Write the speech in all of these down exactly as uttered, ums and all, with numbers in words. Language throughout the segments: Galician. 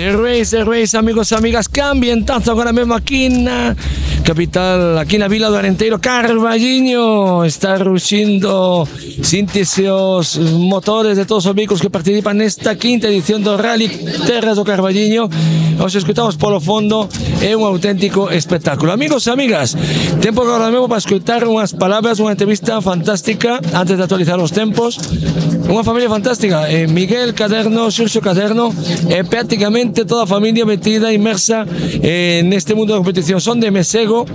The Race, The Race, amigos e amigas, que ambientazo agora mesmo aquí na capital, aquí na vila do Arenteiro. Carballiño está ruxindo síntese os motores de todos os vehículos que participan nesta quinta edición do Rally Terras do Carballiño. Os escutamos polo fondo, é un auténtico espectáculo. Amigos e amigas, tempo agora mesmo para escutar unhas palabras, unha entrevista fantástica antes de actualizar os tempos. Unha familia fantástica, eh, Miguel Caderno, Xurxo Caderno, e eh, prácticamente toda a familia metida, inmersa eh, neste mundo da competición. Son de Mesego,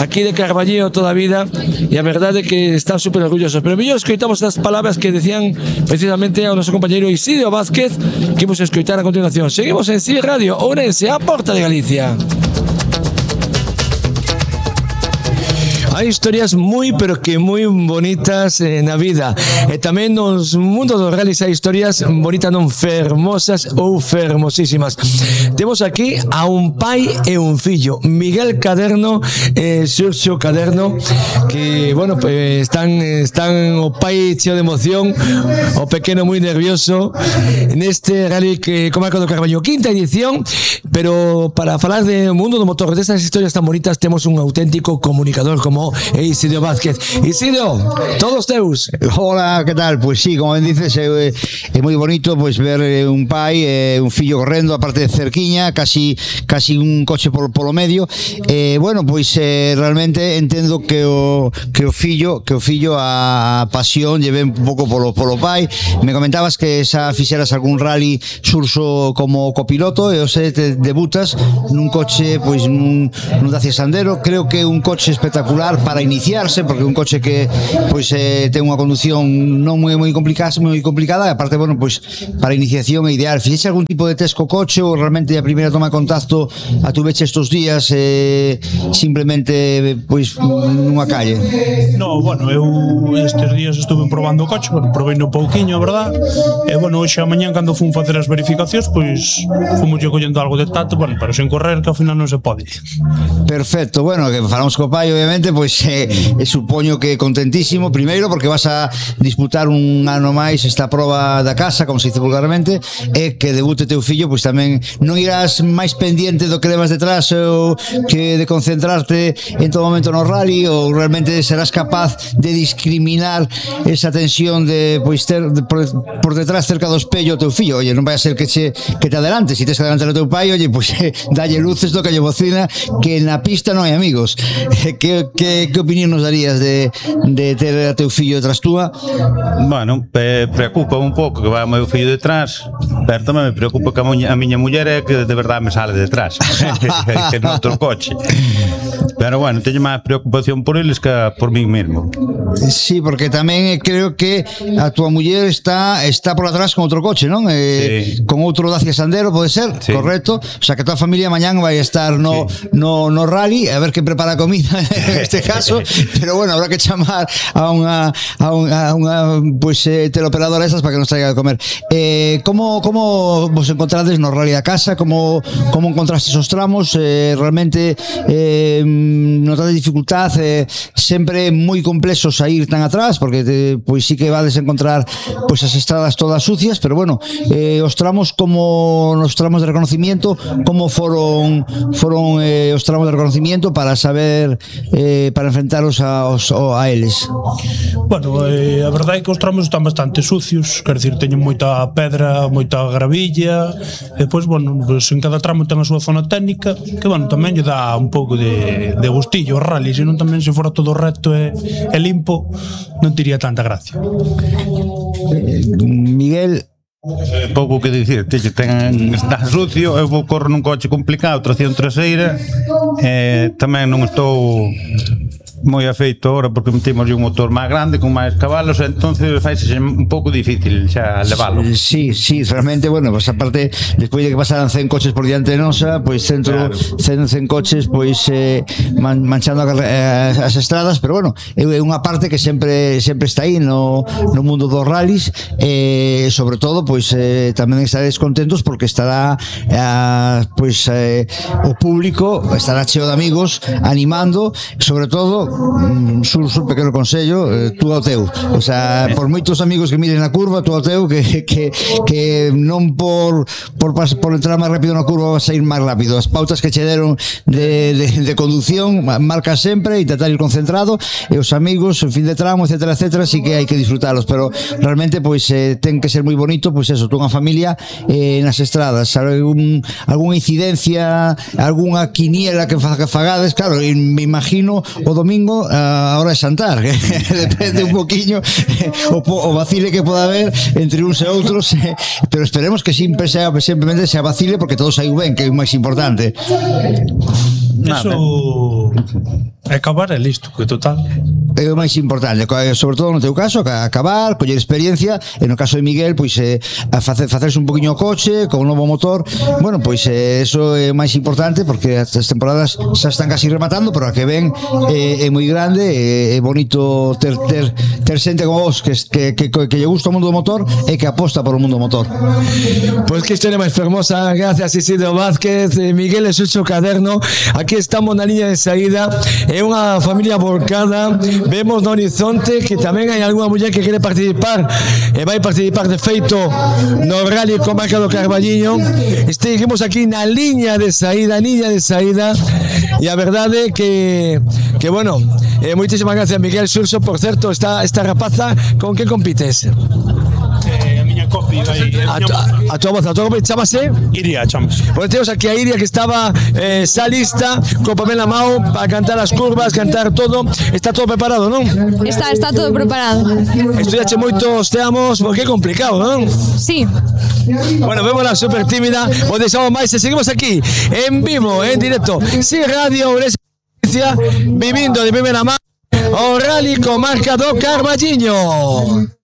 aquí de Carballiño toda a vida, e a verdade é que están super orgullosos. Pero mellor escoitamos as palabras que decían precisamente ao noso compañeiro Isidro Vázquez, que imos escoitar a continuación. Seguimos en C I Radio Ourense, a porta de Galicia. Hai historias moi, pero que moi bonitas eh, na vida. E tamén nos mundos dos rallies hai historias bonitas, non fermosas ou fermosísimas. Temos aquí a un pai e un fillo, Miguel Caderno e Xurxo Caderno, que, bueno, pues, están, están o pai cheo de emoción, o pequeno moi nervioso, neste rally que comarca do Carballo, quinta edición, pero para falar do mundo do motor, destas historias tan bonitas, temos un auténtico comunicador como Isidro Vázquez. Isidro, todos teus. Hola, que tal? Pues sí, como ben dices, é, é moi bonito pues, ver un pai e un fillo correndo, aparte de cerquiña, casi casi un coche por, polo medio. Eh, bueno, pois pues, eh, realmente entendo que o que o fillo, que o fillo a pasión lleve un pouco polo polo pai. Me comentabas que xa fixeras algún rally Xurxo como copiloto e o xe te debutas nun coche, pois pues, nun, nun Dacia Sandero. Creo que é un coche espectacular para iniciarse, porque un coche que pois eh, ten unha condución non moi moi complicada, moi complicada, e aparte, bueno, pois para iniciación é ideal. Fixeche algún tipo de test co coche ou realmente a primeira toma de contacto a tuveche estes días eh, simplemente pois nunha calle? No, bueno, eu estes días estuve probando o coche, bueno, probei no pouquiño, a verdad. E bueno, hoxe a mañán cando fun facer as verificacións, pois fomos collendo algo de tato, bueno, pero sen correr, que ao final non se pode. Perfecto, bueno, que falamos co pai, obviamente, pois eh, eh, supoño que contentísimo, primeiro porque vas a disputar un ano máis esta proba da casa, como se dice vulgarmente, e que debute teu fillo, pois tamén non irás máis pendiente do que levas detrás ou que de concentrarte en todo momento no rally, ou realmente serás capaz de discriminar esa tensión de pois ter de, por, por detrás cerca do espello o teu fillo. Oye, non vai a ser que che que te adelante, se si tes que adelantar o teu pai, oye, pois eh, dalle luces do que lle bocina, que na pista non hai amigos. Que, que, que opinión nos darías de, de ter a teu fillo detrás túa? Bueno, eh, preocupa un pouco que vai o meu fillo detrás, pero tamén me preocupa que a, muña, a miña muller é que de verdade me sale detrás que no outro coche. Pero bueno, teño máis preocupación por eles que por mí mesmo. Sí, porque tamén creo que a túa muller está está por atrás con outro coche, non? Eh, sí. Con outro Dacia Sandero, pode ser? Sí. Correcto. O sea, que toda a familia mañán vai estar no, sí. no, no rally, a ver que prepara a comida en este caso, pero bueno, habrá que chamar a unha a unha, a unha pues, eh, teleoperadora esas para que nos traiga de comer. Eh, como, como vos encontrades no rally da casa? Como, como encontrastes os tramos? Eh, realmente eh, notades dificultad? Eh, sempre moi complexo sair tan atrás, porque te, pois sí que vades encontrar pois as estradas todas sucias, pero bueno, eh, os tramos como nos tramos de reconocimiento, como foron foron eh, os tramos de reconocimiento para saber eh, para enfrentaros a, os, a eles? Bueno, eh, a verdade é que os tramos están bastante sucios, quer dicir, teñen moita pedra, moita gravilla, e depois, bueno, pues en cada tramo ten a súa zona técnica, que, bueno, tamén lle dá un pouco de, de gustillo ao rally, senón tamén se fora todo recto e, e limpo, non tiría tanta gracia. Miguel, pouco que dicir, teño, ten, está sucio, eu vou correr nun coche complicado, tracción traseira, e tamén non estou moi afeito ahora porque metemos un motor máis grande con máis cabalos, entonces faise un pouco difícil xa levalo. Sí, sí, realmente, bueno, pues aparte despois de que pasaran cen coches por diante nosa, pois pues, centro claro. cen coches pois eh, man, manchando a, as estradas, pero bueno, é unha parte que sempre sempre está aí no, no mundo dos rallies, e eh, sobre todo pois eh, tamén estaréis contentos porque estará eh, pois eh, o público estará cheo de amigos animando, sobre todo sur, sur pequeno consello, eh, tú ao teu. O sea, por moitos amigos que miren a curva, tú ao teu, que, que, que non por, por, por entrar máis rápido na curva vas a ir máis rápido. As pautas que che deron de, de, de conducción, marca sempre, intentar ir concentrado, e os amigos, en fin de tramo, etcétera, etcétera, sí que hai que disfrutalos, pero realmente, pois, eh, ten que ser moi bonito, pois eso, tú unha familia eh, nas estradas, algún, algunha incidencia, algunha quiniela que fagades, claro, me imagino o domingo a hora de xantar, que depende un poquinho o, o vacile que poda haber entre uns e outros, pero esperemos que sempre sea, simplemente sea vacile porque todo saiu ben, que é o máis importante. Eso é acabar e listo, que total é o máis importante, sobre todo no teu caso, acabar, coller experiencia, e no caso de Miguel, pois eh, a facer, facerse un poquinho o coche con un novo motor. Bueno, pois eh, eso é o máis importante, porque as temporadas xa están casi rematando, pero a que ven eh, é moi grande, é, é bonito ter, ter, ter xente como vos que, que, que, que lle gusta o mundo do motor e que aposta por o mundo do motor. Pois que historia máis fermosa. Gracias, Isidro Vázquez, Miguel e Sucho Caderno. Aquí estamos na liña de saída, é unha familia volcada. Vemos no horizonte que tamén hai algunha muller que quere participar e vai participar de feito no Rally Comarca do Carballiño. Seguimos aquí na liña de saída, liña de saída, e a verdade que que bueno, eh, moitísimas gracias, Miguel. Xurxo, por certo, esta, esta rapaza con que compites? eh, a miña copia A, a, a tua voz, a tua voz chamase? Iria, chamase. Pois temos aquí a Iria que estaba eh, xa lista, co papel na mão para cantar as curvas, cantar todo. Está todo preparado, non? Está, está todo preparado. Estudiache moitos teamos, porque é complicado, non? Sí. Bueno, vemos la super tímida, o deixamos máis e seguimos aquí, en vivo, en directo, sin radio, vivindo de primeira mão o Rally Comarca do Carballiño.